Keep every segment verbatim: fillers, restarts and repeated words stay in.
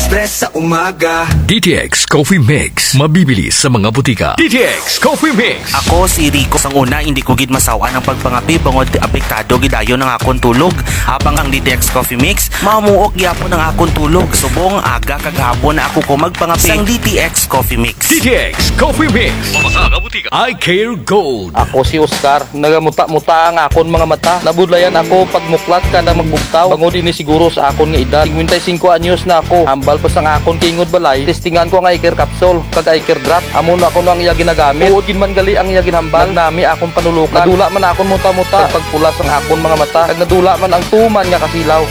Press sa umaga. D T X Coffee Mix. Mabibili sa mga butika. D T X Coffee Mix. Ako si Rico. Sang una, hindi ko gid masaw-an ang pagpangape bangod apektado gid ayon ang akon tulog. Apang ang D T X Coffee Mix, mamuok gyapon ang akon tulog. Subong aga kag hapon na ako ko magpangape. Sang D T X Coffee Mix. D T X Coffee Mix. Sa mga butika. Eye Care Gold. Ako si Oscar. Nagamuta-muta ang akon mga mata. Nabudlayan ako pagmuklat kada magbugtaw. Bangod ini siguro sa akon nga edad. Singkwenta y singko anyos na ako. Hambal pa sang akon tingog balay. Testingan ko ang eye care capsule, kag eye care drop. Amo na kuno ang iya ginagamit. Tuod gid man gali ang iya ginhambal. Nagnami akon panulukan. Nadula man akon muta-muta. Kag pagpula sang akon mga mata. Kag nadula man ang tuman nga kasilaw.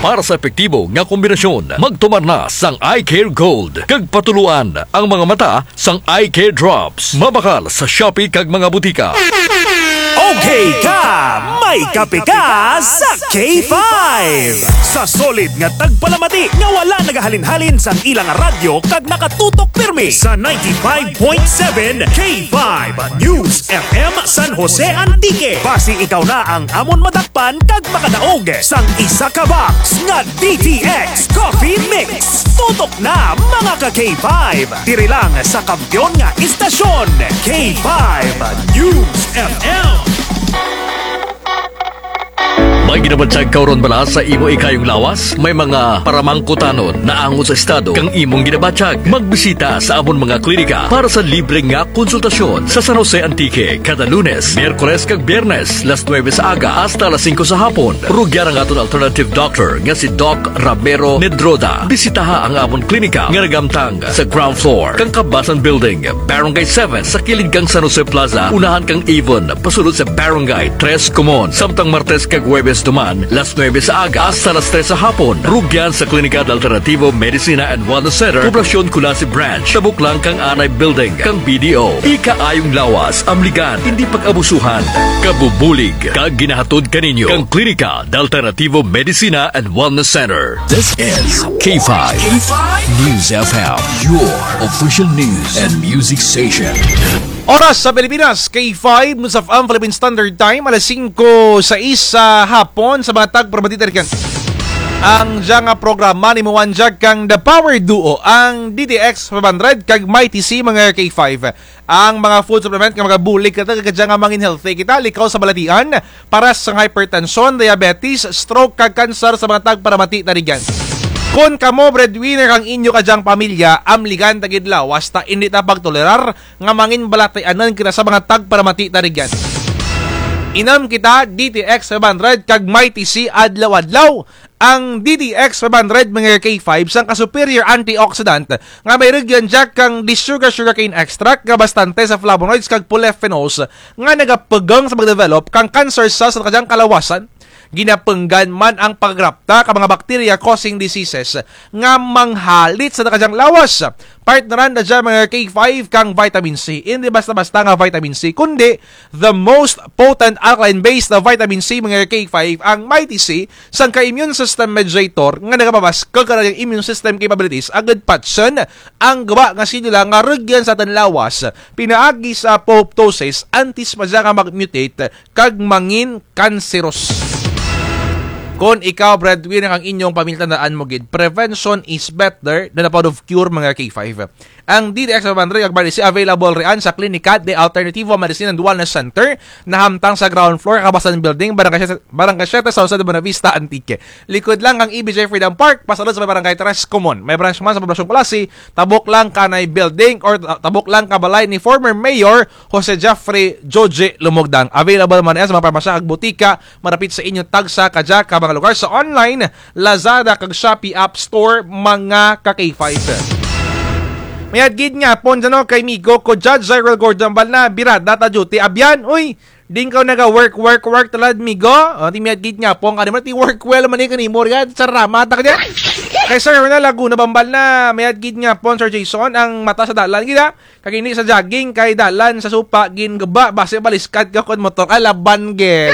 Para sa epektibo nga kombinasyon, magtumar na sang Eye Care Gold. Kag patuloan ang mga mata sang Eye Care Drops. Mabakal sa Shopee kag mga butika. Okay ka, may kape ka sa K five. Sa solid nga tagpalamati nga wala nagahalin-halin sang ilang radyo kag nakatutok pirmi sa ninety-five point seven K five News F M San Jose Antique. Basi ikaw na ang amon madakpan kag makadaog sang isa ka box nga D T X Coffee Mix. Tutok na, mga ka K five. Diri lang sa kampiyon nga istasyon, K five News F M. May ginabatyag ka ron bala sa imo ikayong lawas? May mga paramangkutanon naangot sa estado kang imong ginabatyag? Magbisita sa amon mga klinika para sa libre nga konsultasyon sa San Jose Antique kada Lunes, Miyerkules kag Biyernes, las nuebe sa aga hasta las singko sa hapon. Rugyan ang aton alternative doctor nga si Doc Ramiro Medroda. Bisitaha ang amon klinika nga nagamtang sa ground floor kang Kabasan Building, Barangay seven, sa kilid kang San Jose Plaza, unahan kang Avon, pasulod sa Barangay Tres Comon. Samtang Martes kag Huwebes duman, las nuebe sa aga hasta las tres sa hapon. Rugyan sa Klinika de Alternativo Medicina and Wellness Center, Poblacion Culasi Branch, tabok lang kang Anay Building kang B D O. Ikaayong lawas, amligan, hindi pag-abusuhan. Kabubulig kag ginahatod kaninyo kang Klinika de Alternativo Medicina and Wellness Center. This is K five News F M, your official news and music station. Oras sa Pilipinas, K five News F M Philippine Standard Time, alas singko sais sa hapon. Sa mga tagparamati tarigan, ang dya nga programa nag-imuan dya kang The Power Duo, ang D T X five hundred kag Mighty C, mga K five. Ang mga food supplement nga magabulig kang kadya nga mangin healthy kita, likaw sa balatian, paras kang hypertension, diabetes, stroke, kag cancer sa mga tagparamati tarigan. Kon kamo breadwinner kang inyo kadyang pamilya, amligan ta gid lawas ta indi ta pagtolerar nga mangin balatianan kita sa mga tagparamati tarigan. Inom kita D T X five hundred kag Mighty C adlaw-adlaw. Ang D T X five hundred, mga K five, sangka superior antioxidant nga may rugyan dya kang the sugar sugarcane extract nga bastante sa flavonoids kag polyphenols nga nagapugang sa pagdevelop kang cancer cells sa kadyang kalawasan. Ginapunggan man ang paggrapta ka mga bacteria causing diseases nga manghalit sa kadyang lawas. Partneran na dya, mga K five, kang vitamin C. Hindi basta-basta nga vitamin C, kundi the most potent alkaline-based na vitamin C, mga K five, ang Mighty C, sangka immune system mediator nga nagapabaskug kang immune system capabilities agud patyon ang guba nga selula nga rugyan sa atun lawas pinaagi sa apoptosis antes pa dya nga mag-mutate kag mangin cancerous. Kon ikaw breadwinner kang inyong pamilya, tandaan mo gid, prevention is better than a pot of cure, mga K five. Ang D T X five hundred kag Mighty C available rian sa Klinika de Alternativo Medicine and Wellness Center, nahamtang sa ground floor, Kabasan Building, Barangay Siete, Barangay Siete, San Jose de Buenavista, Antique. Likod lang kang E B J Freedom Park, pasulod sa may Barangay Tres Comon. May branch man sa Poblacion Culasi, tabok lang kanay building or ta-, tabok lang ka balay ni former Mayor Jose Jeffrey Joje Lumogdang. Available man yan sa mga parmasya kag butika marapit sa inyo tagsa kadya ka mga lugar sa online, Lazada kag Shopee App Store, mga ka K five. Mayad gid nga hapon dyan, no, kay migo ko, Judge Cyril Gordon, hambal na, birada ta duty, abyan, uy, di kaw naga-work, work, work, talad, migo. O, ti mayad gid nga hapon, kanimo, ti work well man, eh, kanimo, riyan, sarama, ta ka dyan. Kay Sir Ronald Laguna, hambal na, mayad gid nga hapon, Sir Jason, ang mata sa dalan, gid, ha? Kag ini sa jogging kay dalan sa supa, ginguba, basi baliskad ka kon motor, ay laban gid.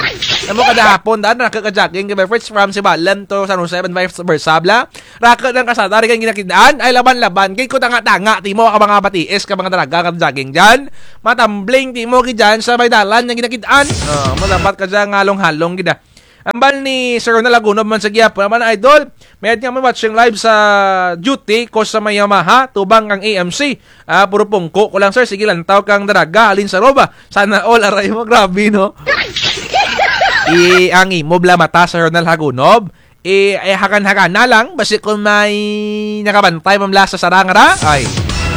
Amo kada hapon, daan, raku ka jogging, kay first from Sibalom to San Jose, and vice versa, bala. Raku ang kasada, ri kang ginakid-an, ay laban-laban, gid ko tanga-tanga, ti mo ka mga batiis, ka mga dalaga, ka jogging dyan. Matambling, ti mo, gid dyan, sa may dalan, nga ginakid-an. O, mo dapat ka dyan, halong-halong, gid, ah. Ambal ni Sir Ronald Hagunob man sa gihapon, ambal na idol, mayad nga mo watching live sa duty ko sa may Yamaha, tubang ang A M C. Ah, puro pungko ko lang, sir. Sige, lantaw kang daraga, halin sa roba. Sana all, aray mo, grabe, no? I, ang imo bala mata, Sir Ronald Hagunob. I, ay, hagan-hagan na lang, basi kung may nakabantay man bala sa sarang ra, ay,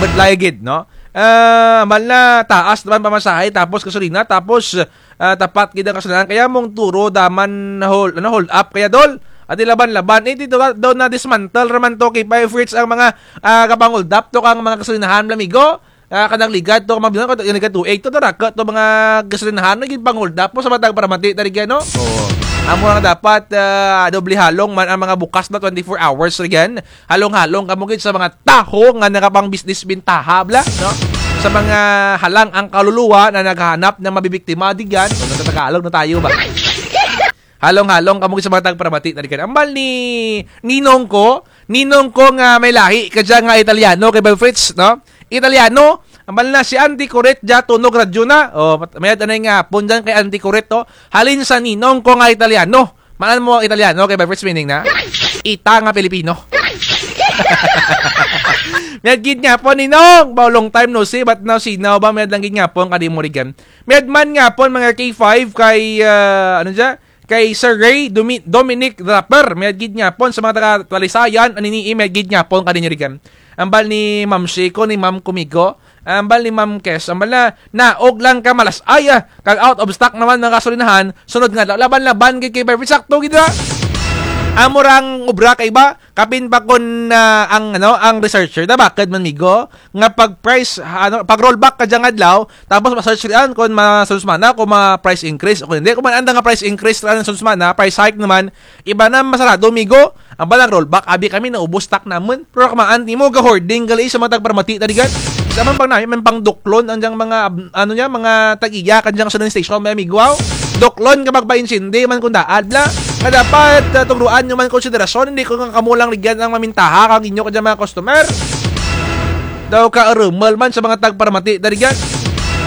budlay gid, no? Ah, ambal na taas naman pamasahe, tapos gasolina, tapos ah, tapat gid ang kasulinahan. Kaya mong turo daman hold, ano, hold up kaya dol. Ati laban-laban. Eh, dito daw na dismantle raman to kay Five Fritz ang mga, ah, kapang-hold up to kang mga kasulinahan, amigo. Ah, kanang ligad to, mga bilang ko, ligad to, eh, to, to, raka to, mga kasulinahan, naging pang-hold up mo sa matag para mati, tari gyan, no? Oo. Amo nga dapat, ah, doble halong man ang mga bukas na twenty-four hours, ri gyan. Halong-halong kamo gid sa mga tawo nga nakapang-business bintaha bala, no? Sa mga halang ang kaluluwa na naghahanap ng mabibiktima, di gyan. O, nagtatagalog na tayo ba? Halong-halong kamo gid sa mga tagparamati na di gyan. Ambal ni ninong ko, ninong ko nga may lahi kadya nga Italiano kay Bay Fritz, no? Italiano, ambal na si Auntie Coret dya tunog radyo na. O, mayad anay nga hapon dyan kay Auntie Coret, to. Halin sa ninong ko nga Italiano. Maan mo ang Italiano kay Bay Fritz meaning na? Ita nga Pilipino. Mayad gid nga hapon, Ninong. Ba, long time no see, but now see now ba, mayad lang gid nga hapon, kadi mo ri gyan. Mayad man nga hapon, mga K five, kay, ah, ano dya? Kay Sir Ray Domi-, Dominic Draper. Mayad gid nga hapon sa mga taga Talisayan, anini, mayad gid nga hapon, kadi nyo ri gyan. Ambal ni Ma'am Shiko, ni Ma'am Kumigo. Ambal ni Ma'am Kes, ambal na, naog lang ka malas-ay, ah, kag out of stock naman mga kasulinahan, sunod nga adlaw, laban-laban gid kay Barbie, sakto gid ra. Amo rang obra kay ba, kapin pa kon, ah, ang, ano, ang researcher, na bakit man migo, nga pag price, ano, pag rollback ka dyang adlaw, tapos ma-search riyan kon ma-, sunod semana, kon ma-price increase, o kon hindi, kon man anda nga price increase, ra sunod semana, price hike naman, iba na masarado, migo. Ang balang rollback, abi kami naubos stock namun. Pero kamaan timo, ga-hoarding gali sa mga tagparamati, tarigan. Sa man pang nami, man pang duklon, ang dyang mga, ab-, ano niya, mga tag-iya, kan dyang gasoline station, may amigo, aw. Duklon ka magpaintsindi, man kung daad, bla. Nga dapat, ah, tugruan nyo man konsiderasyon, hindi ko nga kamo lang rigyan ang mamintaha, kag inyo ka dyang mga customer. Daw ka arumal man sa mga tagparamati, tarigan.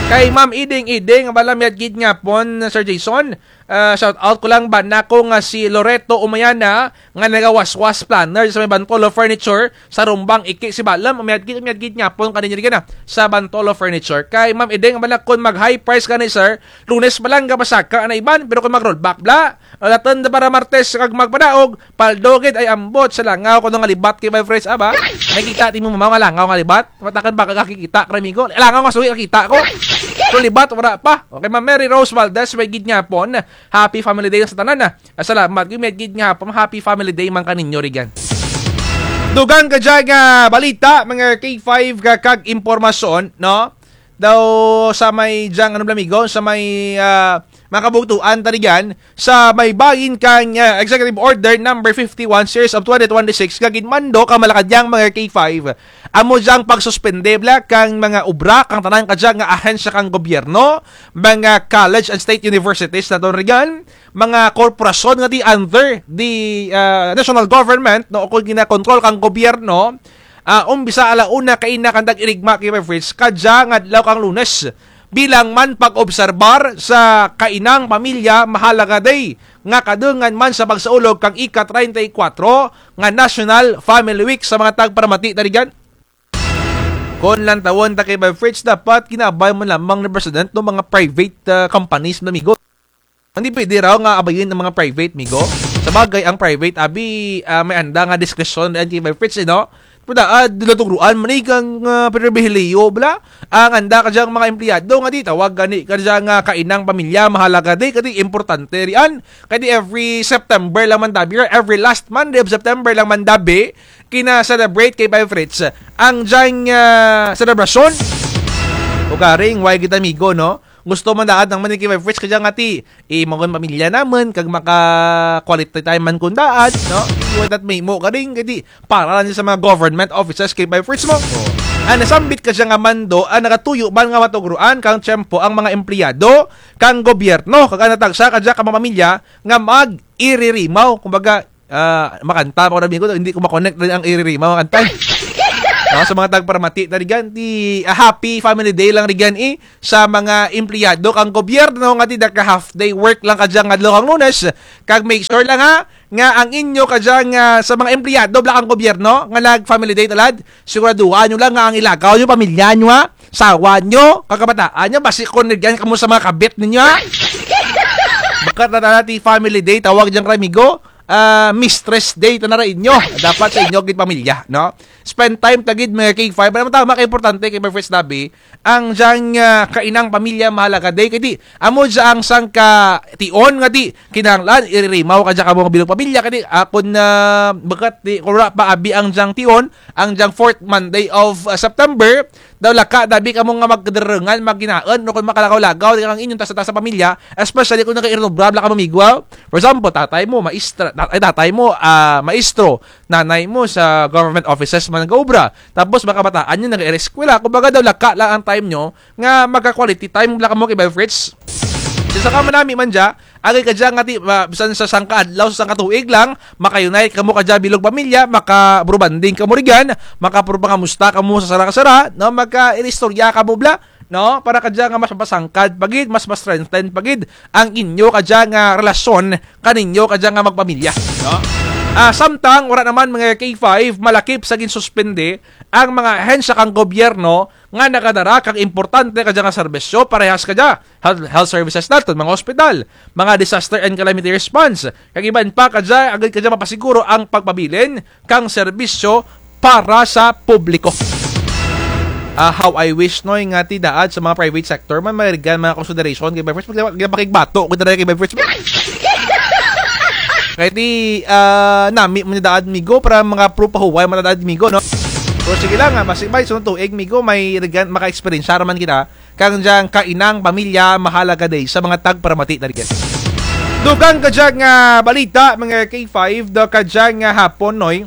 Kay Ma'am Iding Iding, ang bala miyad gid nga pon, Sir Jason. Ah, shout out ko lang ba nako nga si Loreto Umayana, nga nagawaswas planner sa may Bantolo Furniture, sa Rumbang, Iki, Sibalom, mayad gid, mayad gid nga pon kaninyo rin na, sa Bantolo Furniture. Kay Ma'am Ideng, ang balak kon mag high price ka ni sir, Lunes pa lang gapasaka na iban, pero kon mag rollback bla, alatan da para Martes kag magpadaog, paldo gid ay ambot sa langaw kuno nga libat kay Bay Fritz, aba? May kita timo mama nga langaw nga libat? Matakan ba kakikita, kay amigo? Langaw nga suwi kakita ko. Pero libat, wala pa. Okay, Ma'am Mary Rose Valdez, may gid nga pon. Happy Family Day sa tanan, ah. Ah, salamat. Gid, gid nga hapon, happy Family Day man kaninyo, rigan. Dugang ka dyan nga balita, mga K five ka kag impormasyon, no? Daw sa may dyang, ano, amigo, sa may, ah, mga kabugtuan, tarigan, sa may bahin kang, ah, Executive Order number fifty-one, series of twenty twenty-six, nga ginmando ka Malacañang mga K five. Amo dyang pagsuspende, bla, kang mga obra, kang tanan ka dyan nga ahensya kang gobyerno, mga college and state universities na to, rigan, mga korporasyon nga di under the, ah, national government, no, o kon ginakontrol kang gobyerno, ah, umbisa ala una kaina kang tag-irigma kay Bay Fritz, kadya nga adlaw kang Lunes. Bilang man pag-obserbar sa Kainang Pamilya Mahalaga Day, nga kadungan man sa pagsaulog kang ika-treinta y cuatro nga National Family Week sa mga tagparamati, tarigan. Kon lantawon ta kay Bay Fritz, dapat ginaabay man lamang ni President no mga private, ah, companies, mga amigo. Hindi pwede raw nga abayin ang mga private, migo. Sa bagay, ang private, abi, ah, may anda nga diskresyon rin kay Bay Fritz, eh, no? Pero daad, dila tugruan, man, eh, kang, ah, pribilehiyo, bla. Ang anda ka dyang mga empleyado, nga di, tawag gani ka dyang, ah, Kainang Pamilya Mahalaga Day, kadi importante riyan. Kadi every September lang man dabi, every last Monday of September lang man dabi, kina-celebrate kay Bay Fritz ang dyang, ah, selebrasyon. O karing, why kita, amigo, no? Gusto man daad nang man kay Bay Fritz, kadya nga ti, eh, magun pamilya namun, kag maka-quality time man kun daad, no? Iwan tat may mo karing, kadi, para lang sa mga government offices kay Bay Fritz mo. Oh. Ang nasambit kadya nga mando, ang nakatuyo man nga matugruan, kang tiyempo, ang mga empleyado, kang gobyerno, kag ang natagsa kadya ka mga pamilya, nga mag-iririmaw. Kumbaga, ah, makanta pa ko na, amigo, hindi ko ma-connect rin ang iririmaw, makanta. No, sa mga tagparamati ta rugyan, ti, ah, happy family day lang rugyan, eh, sa mga empleyado kang gobyerno nga ti naka half day work lang kadya nga adlaw kang Lunes. Kag make sure lang, ha, nga ang inyo kadya nga sa mga empleyado bala kang gobyerno nga nag family day ta lad, siguraduha nyo lang nga ang ilakaw nyo, pamilya nyo, ha, sawa nyo, kag kabataan nyo, basi kon rugyan kamo sa mga kabit ninyo, ha. Bukut na tana ti family day, tawag dyan kara amigo, ah, mistress day tana ra inyo. Dapat sa inyo gid pamilya, no? Spend time ta gid, mga K five. Ano tama ka importante kay Boyfriends Dabi, ang dyang, ah, Kainang Pamilya Mahalaga Day. Kay ti, amo dya ang sangka tion nga ti kinahanglan iririmaw kadya kamo nga bilog pamilya. Kay ti, ah, kon, ah, bukut ti, kon wara pa abi ang dyang tion, ang dyang fourth Monday of, ah, September, daw laka dabi kamo nga magkadarungan, magkinaun, no, kon makalakaw-lakaw, di kang inyong tasa-tasa pamilya, especially kon nagairobra bala kamo, amigo, ah. For example, tatay mo, maestra, ta-, ay, tatay mo, ah, maestro, nanay mo sa government offices man nagaobra. Tapos, mga kabataan nyo, nag-eskwela. Kumbaga daw, laka lang ang time nyo nga magka-quality time bala kamo kay Boyfriends. Sa sangka manami man dya, agay kadya nga ti, ah, bisan sa sangka adlaw, sa sangka tuig lang, maka-unite kamo kadya bilog pamilya, maka-bro bonding kamo rugyan, maka-bro pangamusta kamo sa sara ka sara, no? Magkairistorya kamo bala, no? Para kadya nga mas mapasangkad pa gid, mas ma-strengthen pa gid ang inyo kadya nga relasyon kaninyo kadya nga magpamilya, no? Ah, samtang wara naman, mga K five, malakip sa ginsuspende ang mga ahensya kang gobyerno nga nagadara kang importante kadya nga serbisyo, parehas kadya health, health services naton, mga ospital, mga disaster and calamity response, kag iban pa kadya, agud kadya mapasiguro ang pagpabilin kang serbisyo para sa publiko. Ah, how I wish, Noy, nga ti daad sa mga private sector man may rugyan mga consideration kay Boyfriends, pag ginapakigbato ko dara kay Boyfriends. Kay ti, ah, nami man daad, amigo, para mga pro pahuway man daad, amigo, no? Pero sige lang, ah, basi bay sunod tuig, amigo, may rugyan, maka-experience ra man kita kang dyang Kainang Pamilya Mahalaga Day sa mga tagparamati ta rugyan. Dugang kadya nga balita, mga K five, daw kadya nga hapon, Noy,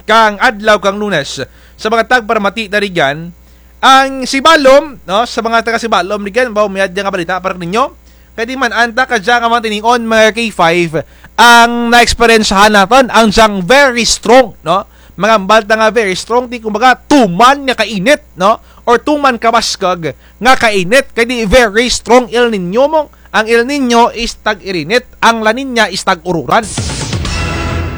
kang adlaw kang Lunes, sa mga tagparamati ta rugyan, ang Sibalom, no, sa mga taga Sibalom rugyan, baw mayad dya nga balita para ninyo. Kay ti man-an ta kadya nga mga tinion, mga K five, ang naeksperyensyahan naton, ang dyang very strong, no? Mga hambal ta nga very strong, ti kumbaga tuman nga kainit, no? Or tuman kabaskug nga kainit, kay ti very strong El Niño mo. Ang El Niño is tag-irinit, ang La Niña is tag-ururan.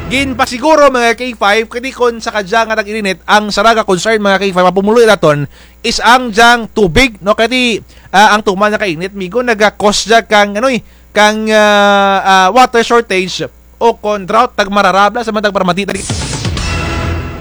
Ginpasiguro, mga K five, kay ti kon sa kadya nga tag-irinit, ang sara ka concern, mga K five, mapumuluy naton is ang dyang tubig, no? Kay ti, ah, ang tuman nga kainit, amigo, naga-cause dya kang, ano, eh, kang, ah, ah, water shortage o kon drought, tagmarara bala sa mga tagparamati ta rugyan.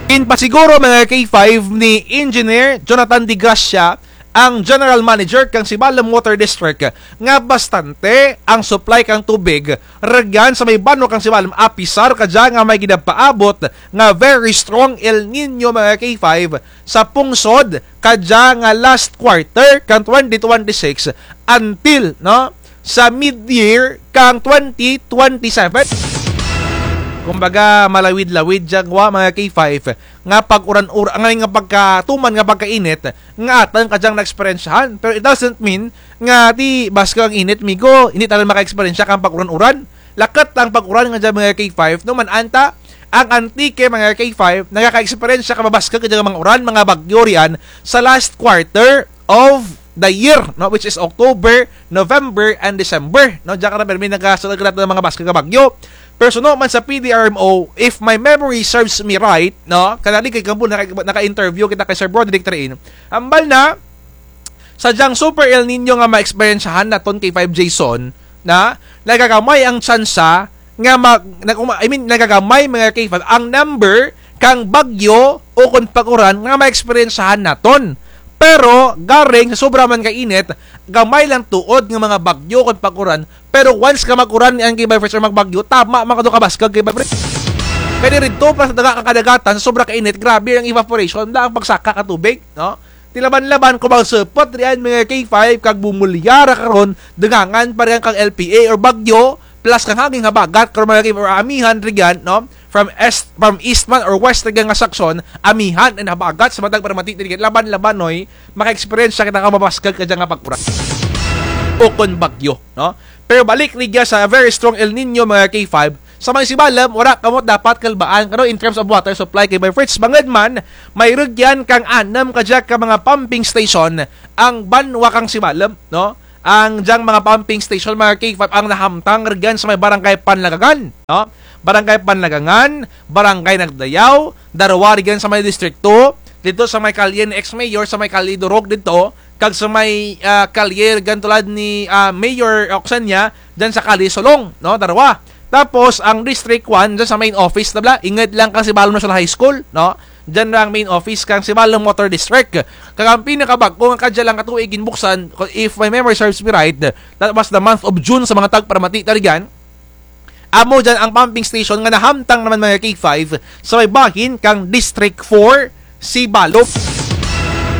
Ginpasiguro, mga K five, ni Engineer Jonathan De Gracia, ang General Manager kang Sibalom Water District, nga bastante ang supply kang tubig rugyan sa may banwa kang Sibalom, apisar kadya nga may ginapaabot nga very strong El Niño, mga K five, sa pungsod kadya nga last quarter kang twenty twenty-six until, no, sa mid-year kang twenty twenty-seven. Kumbaga, malawid-lawid dya gwa, mga K five, nga pag-uran-uran, nga, nga pagkatuman nga pagkainit nga aton kadyang naeksperyensyahan. Pero it doesn't mean nga ti baskug ang init, amigo, indi ta run makaeksperyensya kang pag-uran-uran. Lakat ang pag-uran nga dya, mga K five, no, man-an ta, ang Antique, mga K five, nagakaeksperyensya ka mabaskug kadya nga mga uran, mga bagyo riyan sa last quarter of the year, no, which is October, November, and December, no? Dya kara pirmi nagasulud kara nga mga baskug nga bagyo. Pero suno man sa P D R M O, if my memory serves me right, no, kanali kay Gambul, naka, naka-interview kita kay Sir Broderick Train. Hambal na, sa dyang Super El Niño nga maeksperyensyahan naton, K five Jason, na nagagamay ang tsansa nga mag-, nag-, uma-, I mean, nagagamay, mga K five, ang number kang bagyo o kon pag-uran nga maeksperyensyahan naton. Pero, garing sa sobra man ka init, gamay lang tuod nga mga bagyo kon pag-uran. Pero once nga mag-uran ni ang K five Fritz or magbagyo, tama man kadto kabaskug, K five Fritz. Kay diri didto pa sa daga kang kadagatan, sa sobra ka init, grabe ang evaporation, wala ang pagsaka ka tubig, no? Ti laban-laban kon magsupot riyan, mga K five, kag bumulya ra karon, dungangan pa riyan kang L P A or bagyo, plus kang hangin habagat, karon, mga K five, or amihan riyan, no? From east, from east man or west riyan nga saksyon, amihan and habagat sa matag paramati riyan. Laban-laban, noy, maka-experience kita ka mabaskug kadya nga pag-uran o kon bagyo, no? Pero balik riyan sa very strong El Niño, mga K five, sa may Sibalom, wara kamo dapat kalbaan, kano, in terms of water supply kay Bay Fritz. Bangud man, may rugyan kang anum kadya ka mga pumping station ang banwa kang Sibalom, no? Ang dyang mga pumping station, mga K five, ang nahamtang rugyan sa may Barangay Panlagangan, no? Barangay Panlagangan, Barangay Nagdayaw, darwa rugyan sa may Distrito, didto sa may kalye ni ex-mayor, sa may kalye Durog didto, kag sa may, ah, kalye rugyan tulad ni, ah, Mayor Oksenia, dyan sa kalye Solong, no? Darwa. Tapos, ang District one, dyan sa main office na bala, ingud lang kang Sibalom National High School, no? Dyan ra ang main office kang Sibalom Water District. Kag ang pinakabag-o nga kadya lang katuig ginbuksan, if my memory serves me right, that was the month of June sa mga tagparamati ta rugyan. Amo dyan ang pumping station nga nahamtang naman, mga K five, sa may bahin kang District four, Sibalom.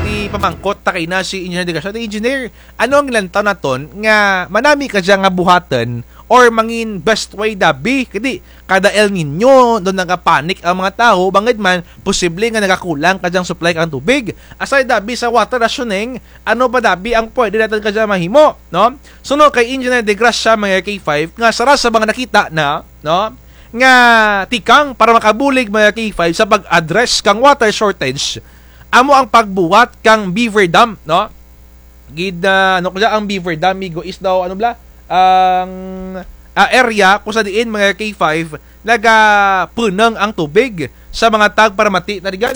Ti pamangkot ta kay na si Engineer De Gracia. Ti Engineer, ano ang lantaw naton nga manami kadya nga buhaton or mangin best way dabi? Kadi kada El Niño, dun nagapanic ang mga tawo, bangud man, posible nga nagakulang kadyang supply kang tubig. Aside dabi sa water rationing, ano pa dabi ang pwede naton kadya mahimo, no? Suno kay Engineer De Gracia, mga K five, nga sara sa mga nakita na, no, nga tikang para makabulig, mga K five, sa pag-address kang water shortage, amo ang pagbuhat kang beaver dam, no? Gid, ah, ano kadya ang beaver dam, migo, is daw, ano bala, ang, ah, area kung sa diin, mga K five, nagapunong ang tubig sa mga tagparamati ta rugyan.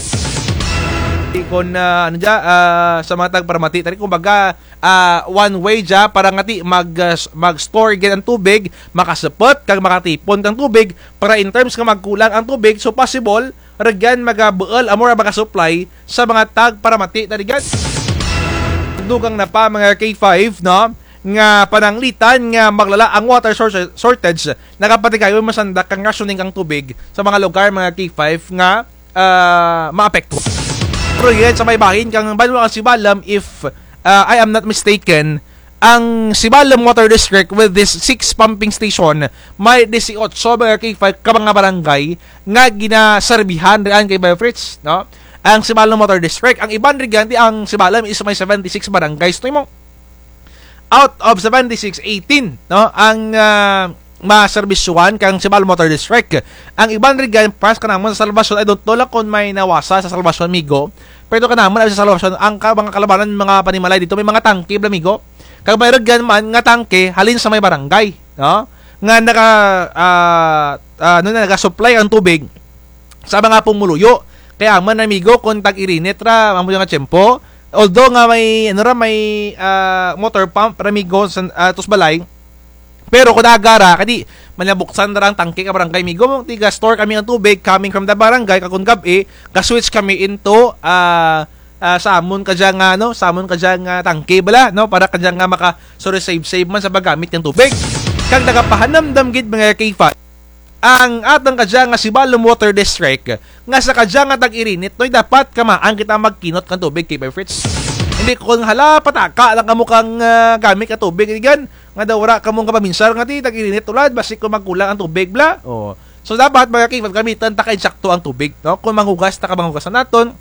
Kon, ah, ano dya, ah, sa mga tagparamati ta rugyan, kumbaga, ah, one way dya para nga ti mag, ah, s-, mag-store gid ang tubig, makasupot kag makatipon kang tubig, para in terms nga magkulang ang tubig, so possible, rugyan magabuul, amo ra magasupply sa mga tagparamati ta rugyan. Dugang na pa, mga K five, no, nga pananglitan nga maglala ang water source-, shortage, nagapatigayon masandak kang rationing kang tubig sa mga lugar, mga K five, nga, ah, maapektuhan. Pero yun, sa may bahin kang banwa kang Sibalom, if, ah, I am not mistaken, ang Sibalom Water District with this six pumping station, may disiotso, mga K five, ka mga barangay nga ginaserbihan raan kay Bay Fritz, no? Ang Sibalom Water District, ang iban rugyan ti ang Sibalom is may seventy-six barangays, no, imo. Out of seventy-six, eighteen, no, ang, ah, maserbisyuhan kang Sibalom Water District. Ang iban rugyan, para sa kanamon sa Salvacion, I don't know lang kon may nawasa sa Salvacion, migo. Pero kanamon sa Salvacion, ang ka-, mga kalabanan, mga panimalay didto, may mga tangke bala, migo. Kag may rugyan man nga tangke halin sa may barangay, no? Nga naga, ah, ah, ano na, naga-supply ang tubig sa mga pumuluyo. Kaya man, amigo, kon tag-irinit ra, amo nga tiyempo. Although nga may, ano ra, may, ah, motor pump ra, amigo, sa, ah, tos balay. Pero kon aga ra, kadi, manabuksan ra ang tangke ka barangay, amigo. Tiga-store kami ang tubig coming from the barangay, kag kon gab-i, ga-switch kami into, ah, ah, sa amon kadya nga, ano, sa amon kadya nga tangke bala, no? Para kadya nga maka-, sorry, save-save man sa paggamit kang tubig. Kag nagapahanumdum gid, mga K five, ang atun kadya nga Sibalom Water District, nga sa kadya nga tag-irinit, noy, dapat kamaan kita magkinot kang tubig, K five Fritz. Hindi kon hala, pataka lang kamo kang, ah, gamit ka tubig, rugyan, nga daw wara kamo nga paminsar nga ti tag-irinit tulad, basi kon magkulang ang tubig bala. Oh. So, dapat, mga K five, gamitan ta ka insakto ang tubig, no? Kon manghugas ta ka, manghugasan naton,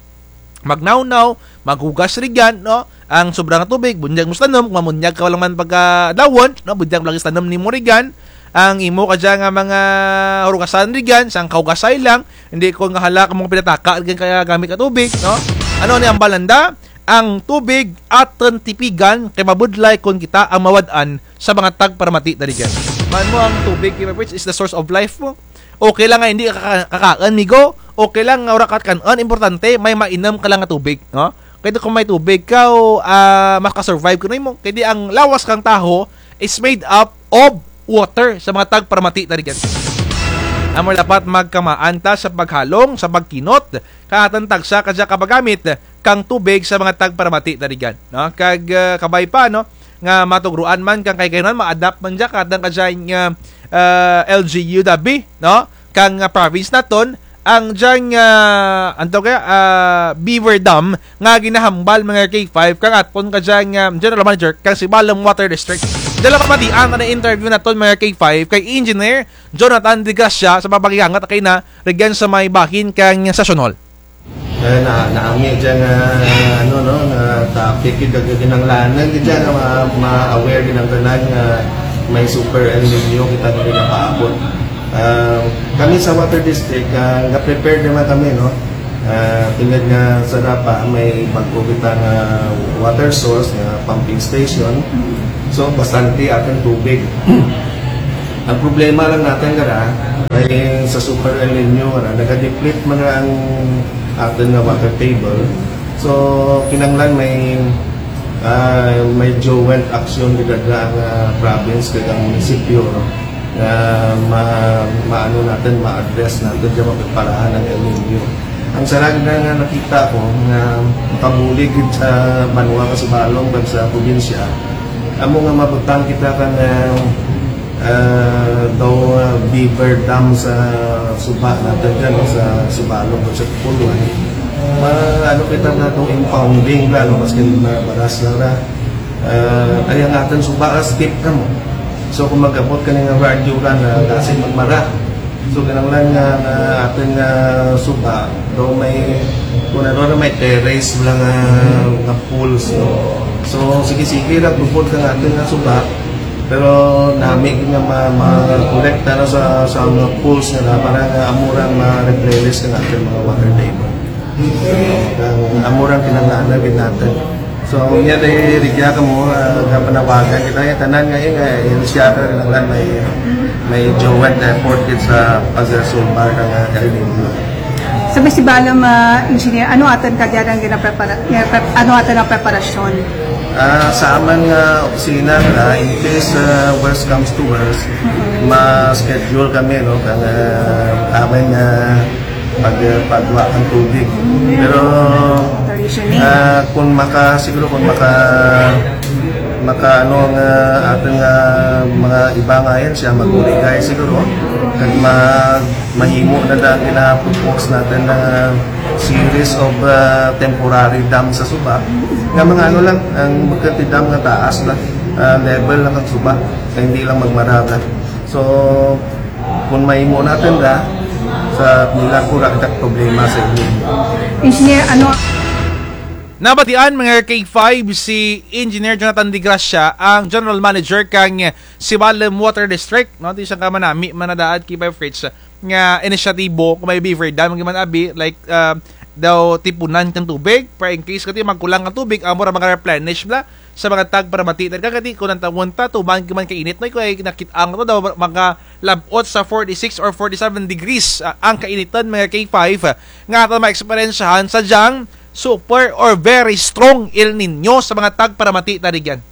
magnawnaw, maghugas rugyan, no? Ang sobra nga tubig, bunyag mo sa tanom, kon mamunyag ka lang man pagkadlawon, no? Bunyag mo lang sa tanom nimo rugyan, ang imo kadya nga mga hurugasan rugyan, sangka hugasay lang, hindi kon nga hala kamo pinataka rugyan kaya gamit ka tubig, no? Ano ni hambal nanda? Ang tubig atun tipigan kay mabudlay kon kita ang mawad-an sa mga tagparamati ta rugyan. Man mo ang tubig, K five Fritz, is the source of life mo. Okay lang nga hindi ka ka-, kakaun, migo. Okay lang nga wara ka kan-un, importante may mainum ka lang nga tubig, no? Kay ti kon may tubig ka, o, ah, makasurvive kuno imo. Kay ti ang lawas kang tawo is made up of water sa mga tagparamati ta rugyan. Amo dapat magkamaan ta sa paghalong, sa pagkinot, kang atun tagsa kadya ka paggamit kang tubig sa mga tagparamati ta rugyan, no? Kag, ah, kabay pa, no, nga matugruan man kang kahigayunan, ma-adapt man dya kang atun kadya nga, ah, L G U dabi, no? Kang, ah, province naton, ang dyang, ah, ano to kaya, ah, beaver dam nga ginahambal, mga K five, kang atun kadya nga, ah, general manager kang Sibalom Water District. Dya lang pamatian ang interview naton, mga K five, kay Engineer Jonathan De Gracia sa pagpakigangat kay na rugyan sa may bahin kang Session Hall. Kaya na, naami dya nga, ano, no, nga topic, gid-, gid-, kinahanglanan gid dya nga ma-, ma-aware gid ang tanan nga may super El Niño kita nga ginapaabot. Ah, kami sa Water District, ah, nga-prepare naman kami, no? Ah, tulad nga sa Dapa, may bag-o kita nga water source, nga pumping station. So, bastante atun tubig. Ang problema lang natun, gara, ay sa Super El Nino, gara, naga-deplete man ang atun nga water table. So, kinanglan may, ah, may joint action gid ang, ah, province kag ang munisipyo, no? Nga ma-, maano natun, ma-address natun, dyan mapreparahan ang El Nino. Ang sara gid nga nakita ko nga makabulig gid sa banwa kang Sibalom kag sa probinsya, amo nga mabutang kita kang, ah, ah, daw, ah, beaver dam sa suba natun dyan, no, sa Sibalom kag sa Pulwan. Ma-, ano kita nga daw impounding ra, no, maski mabaras lang ra. Ah, kay ang atun suba ra steep kamo. So, kon mag-abot kani nga radyo ra nga klase magmara. So, kinanglan nga, nga atun nga suba, daw may, kon ano ra, may terrace lang nga, nga pools, no? So, sige-sige ra, tubod kang atun nga suba, pero nami gid nga ma-, ma-kolekta na sa, sa mga pools nga para nga amo ra ma-replenish kang atun mga water table. Kang amo ra kinanglan gid natun. So, unya, dya rugya kamo, ah, nga panawagan kita, nga tanan nga, eh, nga, eh, siya ka kinanglan may, may joint effort gid sa pagsulbar kang, ah, El Nino. Sa Sibalom, ah, Engineer, ano atun kadya nga ginaprepara-, ginaprep-, ano atun nga preparasyon? Ah, sa amun nga opisina, ah, in case, ah, worst comes to worst, ma-schedule kami, no, kang, ah, amun nga pag-, pagwa kang tubig. Pero, ah, kon maka-, siguro kon maka-, maka-, ano nga atun nga mga iba nga ahensya, mag-uligay siguro, kag ma-, mahimo na lang gina-propose natun nga series of, ah, temporary dam sa suba. Nga mga ano lang, ang bukun ti dam nga taas lang, ah, level lang kang suba, kay hindi lang magmara ra. So, kon mahimo natun ra, sa nila ko ra kita problema sa inyo. Engineer, ano? Nabatian, mga K five, si Engineer Jonathan De Gracia, ang General Manager kang Sibalom Water District, no? Ti sangka manami man nadaad K five Fritz nga inisyatibo, kon may beaver dam, gid man abi, like, ah, daw tipunan kang tubig, para in case kati magkulang kang tubig, amo ra maka-replenish bala sa mga tagparamati. Kag kati kon ang tawon ta, tuman gid man kainit, no? Kay nakit-an to daw makalab-ot sa forty-six or forty-seven degrees, ah, ang kainiton, mga K five, nga atun maeksperiensyahan sa dyang super or very strong El Nino sa mga tagparamati ta rugyan.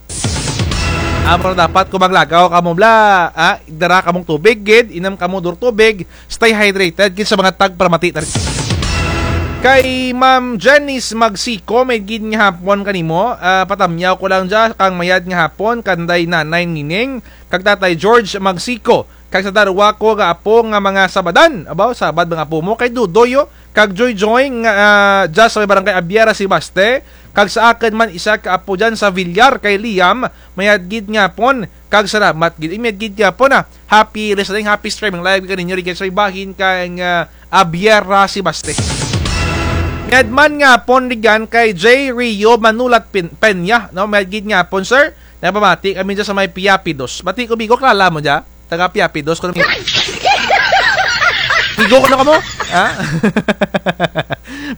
Amo ra dapat kon maglakaw kamo bala, ah, dara kamong tubig gid, inum kamo duro tubig, stay hydrated gid sa mga tagparamati ta rugyan. Kay Ma'am Janice Magsico, mayad gid nga hapon kanimo, ah, patamyaw ko lang dya kang mayad nga hapon kanday Nanay Nining kag Tatay George Magsico. Kag sa darwa ko nga apo nga mga Sabadan. Abaw, Sabad mga apo mo. Kay Dudoy, o, kag Joy Joy nga, ah, dya sa may barangay Abiera, Sebaste. Kag sa akun man isa ka apo dyan sa Villar kay Liam, mayad gid nga hapon. Kag salamat gid. Mayad gid nga hapon, ah. Happy listening, happy streaming live kaninyo rugyan sa may bahin kang, ah, Abiera, Sebaste. Mayad man nga hapon rugyan kay J Rio Manulat Pin-, Peña, no? Mayad gid nga hapon, sir. Nagpamati kami dyan sa may Piapidos. Bati ko, Bigo, kilala mo dyan? Taga Piapidos ko na mi-, Bigo ko na kamo? Ha?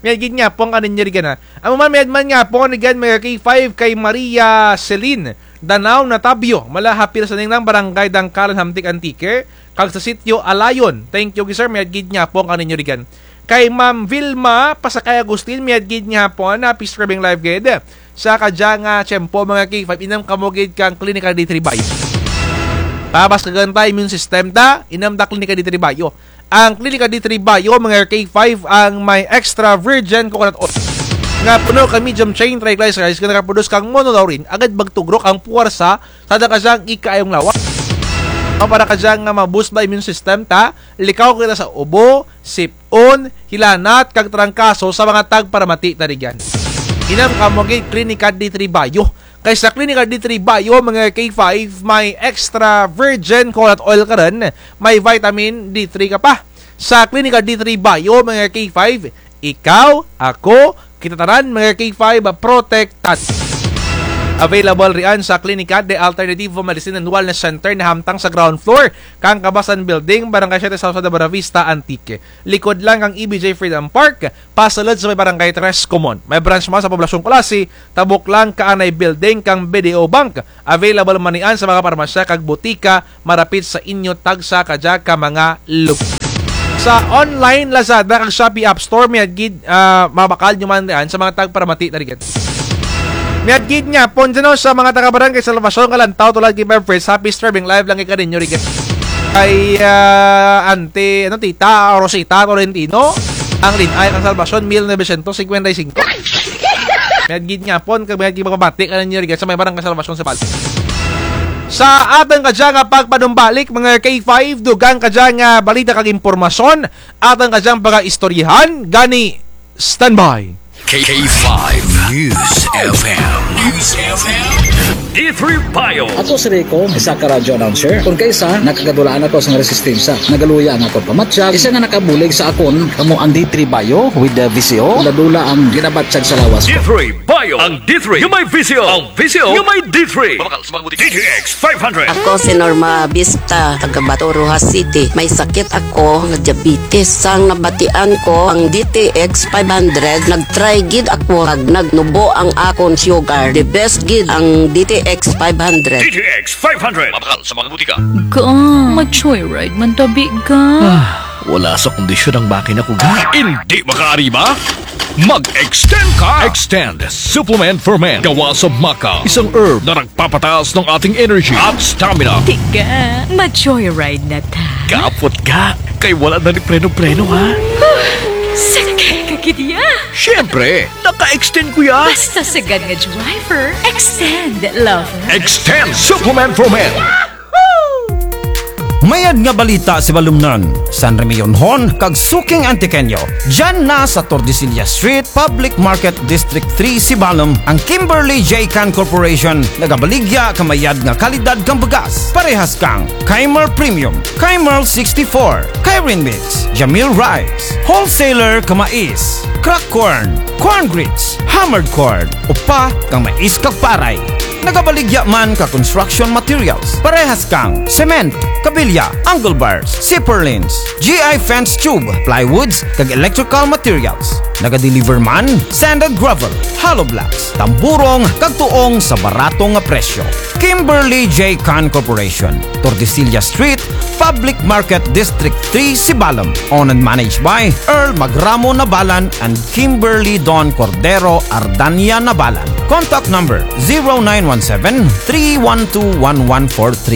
Mayad gid nga hapon kaninyo rugyan, ha. Amo man, mayad man nga hapon rugyan, mga K five, kay Maria Celine Danao Natabio, mula Hapilas Aning ng Barangay Dangkalan, Hamtic, Antique, kag sa Sitio Alayon. Thank you, sir. Mayad gid nga hapon kaninyo rugyan. Kay Ma'am Vilma Pasakay Agustin, mayad gid nga hapon, happy streaming live gid. Sa kadya nga tiyempo, mga K five, inum kamo gid kang Clinica D three Bio. Pabaskagan ta immune system ta, inum ta Clinica D three Bio. Ang Clinica D three Bio, mga K five, ang may extra virgin coconut oil nga puno kang medium chain triglycerides nga nagaproduce kang monolaurin, agud magtugrok ang puwersa sa dya kadyang ikaayong lawas. Para kadya nga ma-boost ba immune system ta, likaw kita sa ubo, sip-on, hilanat, kag trangkaso sa mga tagparamati ta rugyan. Inum kamo gid Clinica D three Bio. Kay sa Clinica D three Bio, mga K five, may extra virgin coconut oil ka run, may vitamin D three ka pa. Sa Clinica D three Bio, mga K five, ikaw, ako, kita tanan, mga K five, protektado. Available rian sa Clinica de Alternativo Medicine and Wellness Center na hamtang sa ground floor kang Kabasan Building, Barangay Siete South, sa Buenavista, Antique. Likod lang kang E B J Freedom Park, pasulod sa may Barangay Tres Comon. May branch man sa Poblacion Culasi, tabok lang kaanay building kang B D O Bank. Available man rian sa mga parmasya kag botika marapit sa inyo tagsa kadya ka mga lugar. Sa online, Lazada kag Shopee App Store, mayad gid, ah, mabakal nyo man rian sa mga tagparamati na rigid. Mayad gid nga, pon dyan, no, sa mga taga Barangay Salvacion, Kalantaw, tulad kay Ma'am Fritz, happy streaming live lang kay kaninyo rigid. Kay, ah, Ante, ano, Tita Rosita Tolentino, ang linay kang Salvacion, mil novecientos cincuenta y cinco. Mayad gid nga pon, kag mayad gid pagpamati kaninyo rigid sa may Barangay Salvacion sa Bal. Sa atun kadya nga pagpanumbalik, mga K five, dugang kadya nga balita kag impormasyon, atun kadyang pagaistoryahan, gani standby. K five News F M. News F M. D three Bio. Ako si Rico, isa ka radyo announcer. Kon kaisa, nakagadulaan ako sa resistensya. Nagaluya ang akon pamatyag. Isa nga nakabulig sa akon, kamo ang D three Bio with the V C O. Dula-dula ang ginabatyag sa lawas ko. D three Bio. Ang D three nga may V C O. Ang V C O nga may D three. Mabakal sa mga butika. D T X five hundred. Ako si Norma Vista, taga Bato, Roxas City. May sakit ako nga diabetes. Sang nabatian ko ang D T X five hundred, nag-try gid ako kag nagnubo ang akon sugar. The best gid ang D T X five hundred. D T X five hundred. Mabakal sa mga butika. Ga, ma-joyride man tabi, ga. Ah, wala sa kondisyon ang makina ko, ga. Indi makaariba? Mag-extend ka! Extend Supplement for Men. Gawa sa maca, isang herb na nagpapataas ng ating energy at stamina. Tiga, ma-joyride na ta. Kapot ka, kay wala na ni preno-preno, ha? Huh, sakay ka gid ya. Siyempre, naka-extend ko ya. Basta sagad nga driver, extend, lover. Extend Supplement for Men. Mayad nga balita sa balumnan, San Remillon hon kag suking Antiqueño. Dyan na sa Tordesillas Street, Public Market, District three, Sibalom, ang Kimberly J Can Corporation, nagabaligya ka mayad nga kalidad kang bugas. Parehas kang Kymar Premium, Kymar sixty-four, Kyrin Mix, Jamil Rice, wholesaler ka mais, crack corn, corn grits, hammered corn, upa kang mais kag paray. Nagabaligya man ka construction materials, parehas kang cement, kabilya, angle bars, zipper lines, G I fence tube, plywoods, kag electrical materials. Nagadeliver man sand and gravel, hollow blocks, tamburong, kag tuong sa barato nga presyo. Kimberly J Can Corporation, Tordesillas Street, Public Market, District three, Sibalom. Owned and managed by Earl Magramo Nabalan and Kimberly Don Cordero Ardania Nabalan. Contact number zero nine one seven, three one two, one one four three.